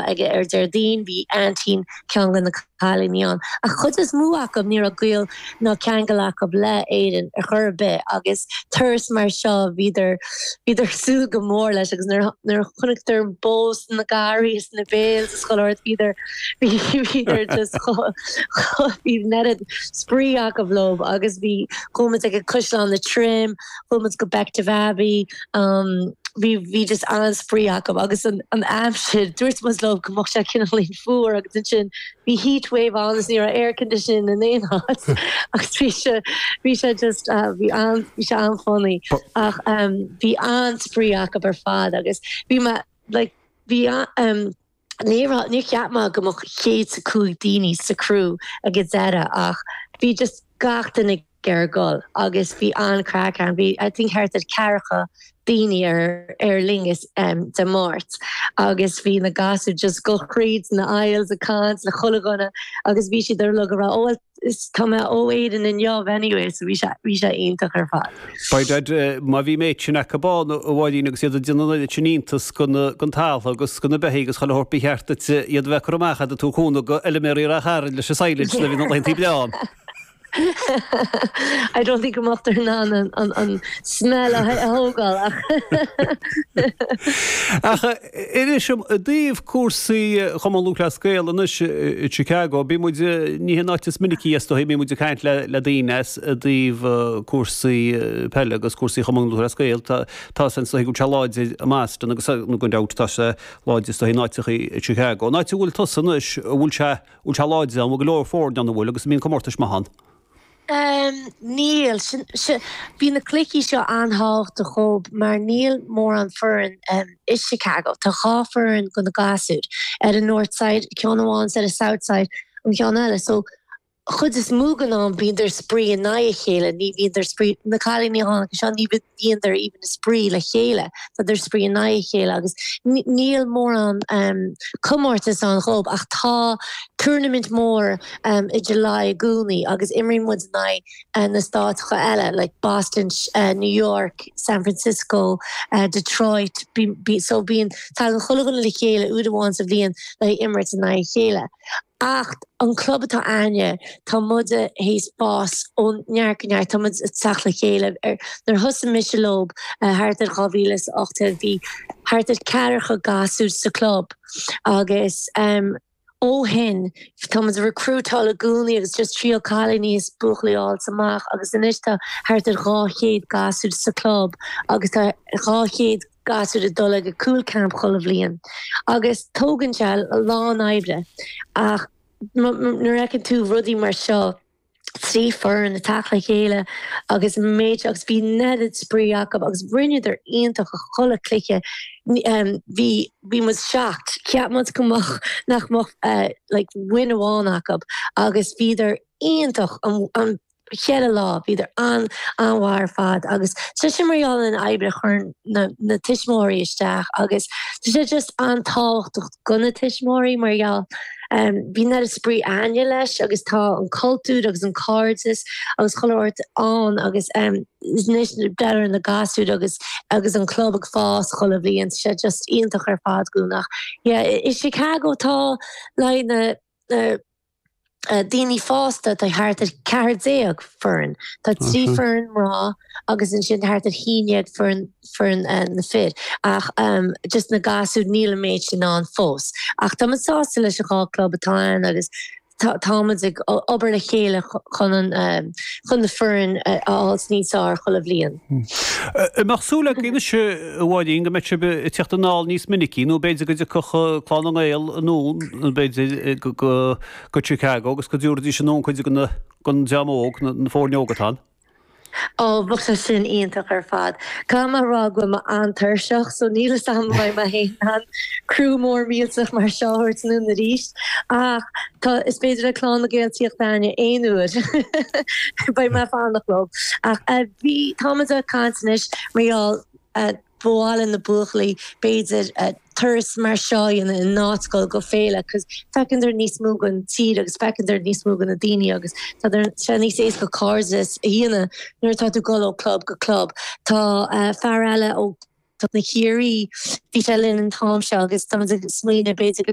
ag ar Déardaoin, bhí aintín ceann de na cailíní ann. Ach chuid is mó acu ní raibh gaol ná ceangal acu le Éirinn ar chor ar bith agus turas mar seo bhíodar bhíodar ag súil go mór leis agus nuair nuair a chonaiceadar an bó sna garraí is na bales is chuile shórt bhíodar bhíodar just chomh chomh bhí an oiread spraoi acu leo agus bhí chuaigh muid ag Caisleán Liatroim, chuaigh muid go Bective Abbey, bhí bhí just an-spraoi acu agus an an aimsir, dúirt muid leo go mbeadh sé cineáilín fuar agus ansin bhí heat wave ann agus ní raibh air conditioning in aon áit agus bhí sé bhí sé just bhí an bhí sé an-funny ach bhí an-spraoi acu ar fad agus bhí mé like bhí ní raibh níor cheap mé go mbeadh 105 daoine sa crew ag an deireadh ach bhí just gach duine ag iarraidh dul agus bhí an-craic ann. Bhí I think thart ar ceathracha daoine ar ar loingeas Dé Máirt agus bhí na gasúir just ag dul thríd na aisles ag caint le chuile dhuine agus bhí siad uilig ag rá oh well tá mé ó Éirinn inniu anyway so bhí sé bhí sé iontach ar fad. By dad, má bhí an méid sin acu ann, a Mháirín, agus iad ag déanamh an oiread sin iontas gon talamh agus go na beithígh agus chuile shórt ba cheart duit iad a bheith ag cur amach a'd ag tabhairt cúnamh go fheilméaraí Ráth Chairn leis an silage nuair a bhíonn na laethantaí breá ann. I don't think go mbeadh in ann an, an, an smell a thógáil ach. Ach inis dom i dtaobh cúrsaí Chumann Lúthchleas Gael anois i Chicago, bíonn muid, ní hin an áit is minicí is dóigh, bíonn muid ag caint le le daoine as i dtaobh cúrsaí peile agus cúrsaí Chumann Lúthchleas Gael, tá tá san is dóigh go bhfuil sé láidir i mBoston agus gan dabht tá sé láidir is dóigh in áiteachaí i Chicago. An áit a bhfuil tusa anois, an bhfuil sé bhfuil sé láidir ann, bhfuil go leor foirne ann, an bhfuil, agus an mbíonn comórtais maith ann? Níl. Bhí na cluichí seo an-tábhachtach dhób mar níl mórán foireann i Chicago. Tá dhá foireann go na gasúir, ar an North Side ceann amháin is ar an South Side an ceann eile. So chuid is mó den am bíodar spraoi in aghaidh a chéile, ní bhíodar spraoi, na cailíní a tháinig anseo ní bhíodar even ag spraoi le chéile, tá siad spraoi in aghaidh a chéile agus níl mórán comórtas ann dhób ach tá tournament mór i July i gcónaí agus imríonn muid in aghaidh na stáiteacha eile like Boston, New York, San Francisco, Detroit, so bíonn, tagann chuile dhuine le chéile uair amháin sa bhliain le imirt in aghaidh a chéile. Ach an club atá a'inne, tá muide théis fás ó neart go neart, tá muid ag teacht le chéile. Nuair a thosaigh mise leob thart ar 2018 bhí thart ar ceathracha gasúr sa club agus ó shin tá muid ag recruitáil i gcónaí agus just triail cailíní is buachaillí a fháilt amach agus anois tá thart ar 200 gasúr sa club agus tá 200 gasúr ag dul ag an cúl camp chuile bhliain agus tógann sé a lán oibre ach nuair a fheiceann tú rudaí mar seo, 3 foireann ag teacht le chéile agus an méid agus bhí an oiread spraoi acu agus rinneadar iontach i chuile cluiche bhí bhí muid shocked cheap muid go mbeadh nach mbeadh like win amháin acu agus bhíodar iontach an an cheithre lá, bhíodar an-an-mhaith ar fad agus tá sé mar gheall ar an oibre a chuireann na na tuismitheoirí isteach agus tá sé just an-tábhachtach do na tuismitheoirí mar gheall bíonn an oiread spraoi a'inne leis agus tá an cultúr agus an cairdeas agus chuile shórt ann agus anois breathnú ar na gasúir agus agus an club ag fás chuile bhliain, tá sé just iontach ar fad dhúinn ach yeah i Chicago tá like na na daoine fásta, tá thart ar 14 foireann. Tá 3 foireann mná agus ansin thart ar 11 foireann foireann na fir. Ach just na gasúir níl an méid sin ann fós. Ach tá muid sásta leis an dhá club atá ann agus tá muid ag obair le chéile chun an chun na foireann a fháil níos fearr chuile bhliain. An mbeadh súil agaibh anois, a Mháirín, go mbeidh sibh ag teacht anall níos minicí, nó b'fhéidir go dtiocfadh Clann na nGael anonn, b'fhéidir, go Chicago agus go dtabharfaidís anonn cuid den dream óg, na foirne óga atá ann? Ó, bheadh sé sin iontach ar fad. Caithfidh mé a rá go bhfuil mé an-tuirseach, so níl fhios a'm an mbeidh mé féin in ann criú mór millteach mar seo a thabhairt anonn arís. Ach tá, is féidir le Clann na Gael tíocht a'inne aon uair. Beidh mé ag fanacht leo. Ach bhí, táimid ag caint anois mar gheall, ba mhaith le na buachaillí b'fhéidir turas mar seo a dhéanamh in áit dul go féile 'cause feiceann níos mó den tír agus feiceann níos mó de na daoine agus tá sé níos éasca cairdeas a dhéanamh nuair atá tú ag dul ó club go club. Tá fear eile ó na Ciarraí, bhí sé linn an t-am seo agus táimid ag smaoineamh b'fhéidir go.